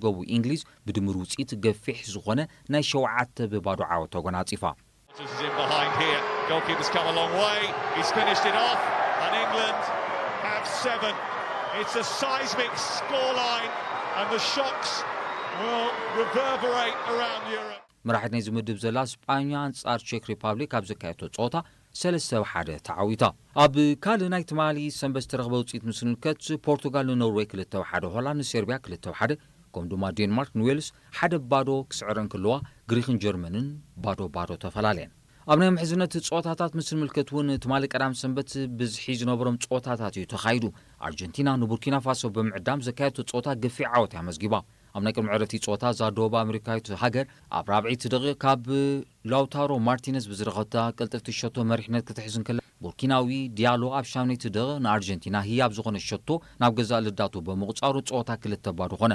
ገቡ እንግሊዝ ብድምር ውፅኢት ገፊሕ ዝኾነ ናይ ሸውዓተ ብባዶ ዓወት ተጎናፂፋ። Is in behind here. Goalkeeper's come a long way. He's finished it off, and England have seven. It's a seismic scoreline, and the shocks will reverberate around Europe. መራሒት ናይዚ ምድብ ዘላ ስጳኛ ኣንጻር ቼክ ሪፓብሊክ ኣብ ዘካየቶ ጸወታ ሰለስተ ብ ሓደ ተዓዊታ። ኣብ ካልእ ናይ ትማሊ ሰንበት ዝተረኽበ ውፅኢት ምስ ንምልከት ፖርቱጋል ንኖርዌይ ክልተ ብ ሓደ፣ ሆላንድ ንሴርቢያ ክልተ ብ ሓደ፣ ከምኡ ድማ ዴንማርክ ንዌልስ ሓደ ብ ባዶ ክስዕረን ክለዋ፣ ግሪኽን ጀርመንን ባዶ ባዶ ተፈላለየን። ኣብ ናይ ምሕዝነት ጸወታታት ምስ ንምልከት እውን ትማሊ ቀዳም ሰንበት ብዝሒ ዝነበሮም ጸወታታት እዩ ተኻይዱ። ኣርጀንቲና ንቡርኪና ፋሶ ብምዕዳም ዘካየደቶ ጸወታ ገፊሕ ዓወት እያ ኣመዝጊባ። ኣብ ናይ ቅድሚ ዕረፍቲ ጸወታ እዛ ደቡብ ኣሜሪካዊት ሃገር ኣብ ራብዒቲ ደቂቕ ካብ ላውታሮ ማርቲነዝ ብዝረኸታ ቅልጥፍቲ ሸቶ መሪሕነት ክትሕዝ እንከላ፣ ቡርኪናዊ ዲያሎ ኣብ ሻምነይቲ ደቂቕ ንኣርጀንቲና ህያብ ዝኾነ ሸቶ ናብ ገዛእ ልዳቱ ብምቑጻሩ ጸወታ ክልተ ባዶ ኾነ።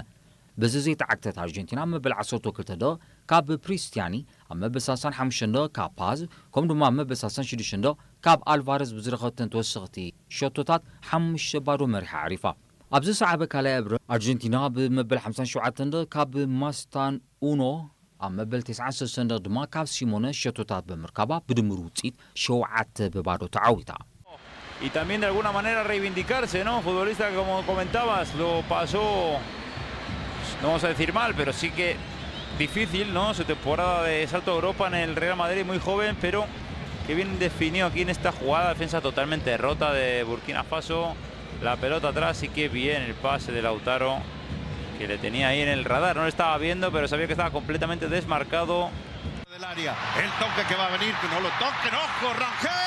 በዚ ዘይተዓግተት ኣርጀንቲና ኣብ መበል ዓሰርተ ክልተ ደቂቕ ካብ ፕሪስቲያኒ፣ ኣብ መበል ሰላሳን ሓሙሽተን ደቂቕ ካብ ፓዝ፣ ከምኡ ድማ ኣብ መበል ሰላሳን ሽዱሽተን ደቂቕ ካብ ኣልቫረዝ ብዝረኸብተን ተወሰኽቲ ሸቶታት ሓሙሽተ ባዶ መሪሓ ኣዕሪፋ። ኣብ ዝሰዓበ ካልኣይ እብረ ኣርጀንቲና ብመበል ሓምሳን ሸውዓተን ደቂቕ ካብ ማስታን ኡኖ፣ ኣብ መበል ተስዓን ሰለስተን ደቂቕ ድማ ካብ ሲሞነ ሸቶታት ብምርካባ ብድምር ውፅኢት ሸውዓተ ብባዶ ተዓዊታ። Y también de alguna manera reivindicarse, ¿no? Futbolista que, como comentabas, lo pasó, no vamos a decir mal, pero sí que difícil, ¿no? Su temporada de salto a Europa en el Real Madrid, muy joven, pero que bien definido aquí en esta jugada, defensa totalmente rota de Burkina Faso, la pelota atrás, y qué bien el pase de Lautaro, que le tenía ahí en el radar, no le estaba viendo, pero sabía que estaba completamente desmarcado. Del área, el toque que va a venir, que no lo toquen, ojo, Rangel.